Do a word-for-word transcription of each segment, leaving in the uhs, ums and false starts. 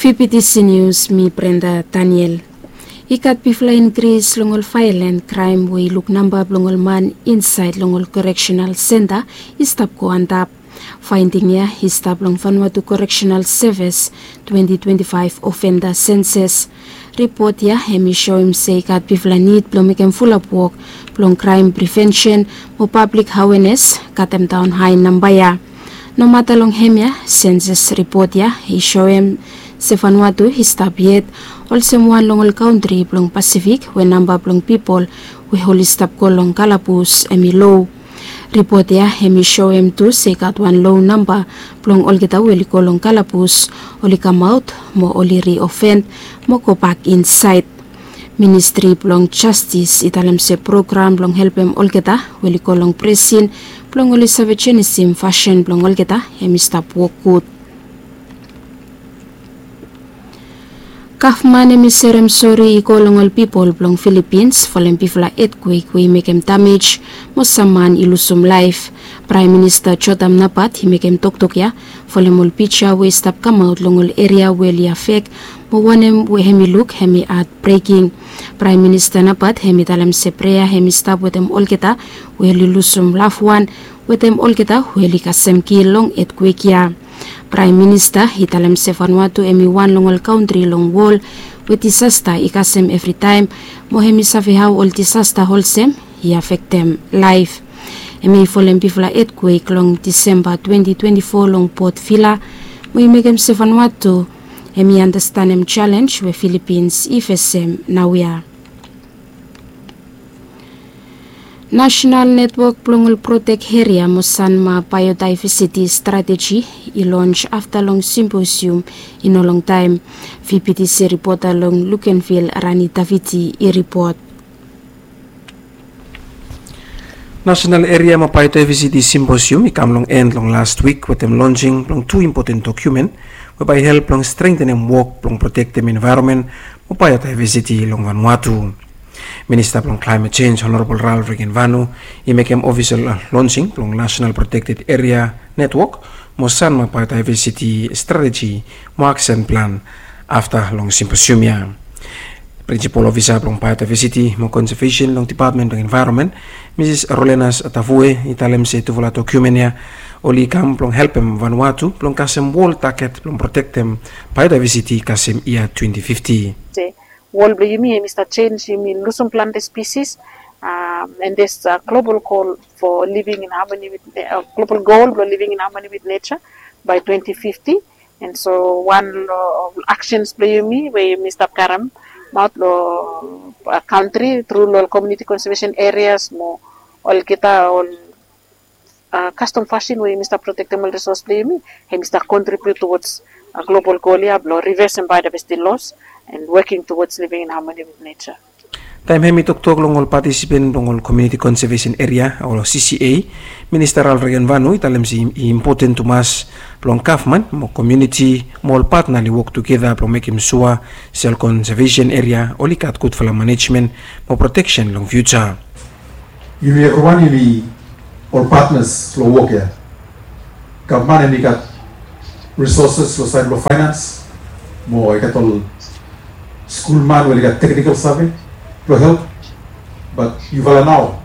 Vptc News, mi Brenda Daniel. I gat bigfala inkris long ol vaelan kraem we i luk namba blong ol man insaed long ol koreksenal senta i stap go antap. Faending ya i stap long Vanuatu Koreksenal Sevis twenti twenti faef ofenda senses. Ripot ya hem i soem se i gat bigfala nid blong mekem fulap wok blong kraem prevensen mo pablik awenes, katemdaon hae namba ya. Nomata long hemia, senses ripot ya i soem se Vanuatu i stap yet olsem wan long ol kantri blong Pasifik we namba blong pipol we oli stap go long kalabus hem i lo. Ripot ya hem i soem tu se i gat wan lo namba blong olgeta we oli go long kalabus, oli kamaot mo oli riofen mo gobak insaed. Ministri blong Jastis i talem se program blong helpem olgeta we oli go long presin blong oli save jenisim fasin blong olgeta hem i stap wok gud. Gavman hem i serem sori i go long ol pipol blong Filipins folem bigfala etkwek we i mekem damej mo sam man i lusum laef. Praem Minista Jotam Napat i mekem toktok ya folem ol pija we i stap kamaot long ol eria we oli afek mo wanem we hem i luk hem i hatbreking. Praem Minista Napat hem i talem se prea hem i stap wetem olgeta we oli lusum lafwan, wetem olgeta we oli kasem kil long etkwek ya. Praem Minista i talem se Vanuatu hem i wan long ol kantri long wol we disasta i kasem evritaem, mo hem i save hao ol disasta olsem i afektem laef. Hem i folem bigfala etkwek long Disemba twenti twenti fo long Port Vila, mo i mekem se Vanuatu hem i andastanem jalenj we Filipins i fesem naoia. Nasenal Netwok blong ol Protek Eria mo Sanma Baeodaevesiti Strateji i lons afta long simposium i no longtaem. Vptc ripota long Lukenvil, Rani Daviti, i ripot. Nasenal Eria mo Baeodaevesiti Simposium i kam long en long las wik wetem lonsing blong tu impoten dokumen we bae i help long strengtenem wok blong protektem envaeronmen mo baeodaevesiti long Vanuatu. Minista blong Klaemet Jenj, Honorabol Ralph Regenvanu, i mekem ofisol lonsing blong Nasenal Protekted Eria Netwok mo Sanma Baeodaevesiti Strateji mo Aksen Plan afta long simposium ya. Prinsipol Ofisa blong Baeodaevesiti mo Konsevesen long Depatmen blong Envaeronmen, Misis Rolenas Tavue, i talem se tufala dokumen ya oli kam blong helpem Vanuatu blong kasem wol taget blong protektem baeodaevesiti kasem yia twenti fifti. Wol blong yumi hem i stap jenj, yumi lusum plante spisis, and there's a global goal for living in harmony with, global goal blong living in harmony with nature by twenti fifti. And so wan long aksens blong yumi we yumi stap karemaot long kantri tru long ol community conservation areas mo olgeta ol kastom fasin we yumi stap protektem ol resos blong yumi, hem i stap contribute towards global goal ya blong reversing biodiversity loss and working towards living in harmony with nature. Taem hem i toktok long ol patisipen blong ol Community Conservation Area o C C A, Minista Ralph Regenvanu i talem se i impoten tumas blong gavman mo komuniti mo ol patna oli wok tugeta blong mekem sua se ol konsevesen eria oli gat gudfala manejmen mo proteksen long fiuja. Yumi evriwan yumi ol patnas long wok ya. Gavman hem i gat risoses long saed blong faenans, mo i gat ol skulman we oli gat teknikol save blong help. Bat yufala nao,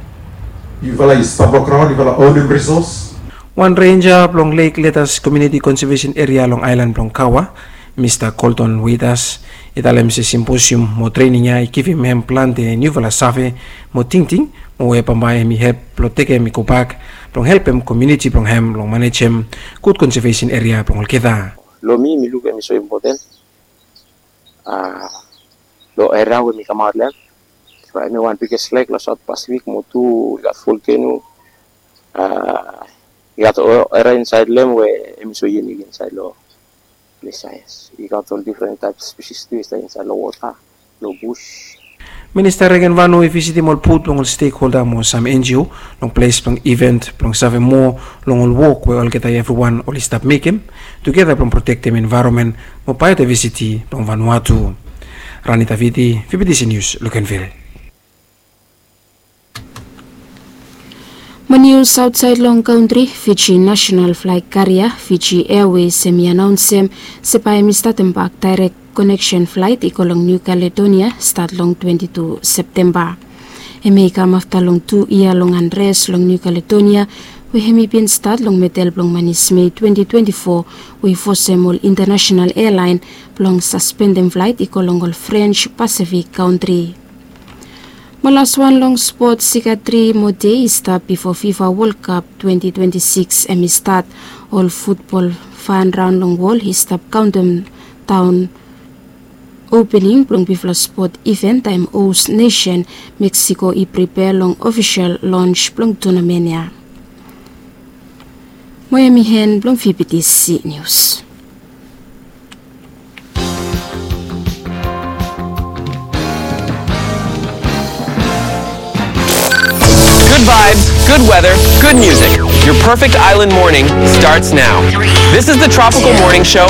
yufala i stap long graon, yufala onem risos. Wan renja blong Lake Leaders Community Conservation Area long aelan blong Kawa, Mista Colton Waiters, i talem se simposium mo trening ya i givim hem plante niufala save mo tingting mo we bambae hem i help blong tekem i gobak blong helpem komuniti blong hem blong manejem gud konsevesen eria blong olgeta. Long mi, mi luk hem i so impoten long eria we mi kamaot long hem. Bae hem i wan bigest lek long Saot Pasifik mo tu i gat volkeno. I gat eria insaed long hem we hem i so yunik insaed long ples ya. Yes, i gat ol difren taep spisis tu i stap insaed long wota, long bus. Minista Regenvanu i visitim ol booth blong ol stekholda mo sam N G O long ples blong iven blong save moa long ol wok we olgeta evriwan oli stap mekem tugeta blong protektem envaeronmen mo baeodaevesiti blong Vanuatu. Rani Taviti, Vptc News, Lukenvil. Nius aotsaed long kantri. Fiji nasenal flaeg karia Fiji Airways hem i anaonsem se bae hem i statem bak daerek koneksen flaet i go long Niu Kaledonia stat long twenti tu Septemba. Hem i kam afta long tu yia long anres long Niu Kaledonia we hem i bin stat long medel blong manis Mei twenti twenti fo, we i fosem ol intanasenal ealaen blong saspendem flaet i go long ol Frens Pasifik kantri. Mo laswan long spot, sikatri mo dei i stap bifo Fifa Wol Kap twenti twenti sikis hem i stat. Ol futbol fan raon long wol i stap kaontem daon opening blong bifala spot iven taem hos nesen Meksiko i pripea long ofisel lons blong tunamen ya. Mo hem i hen blong fibitisi nius. Good vibes, good weather, good music. Your perfect island morning starts now. This is the Tropical Morning Show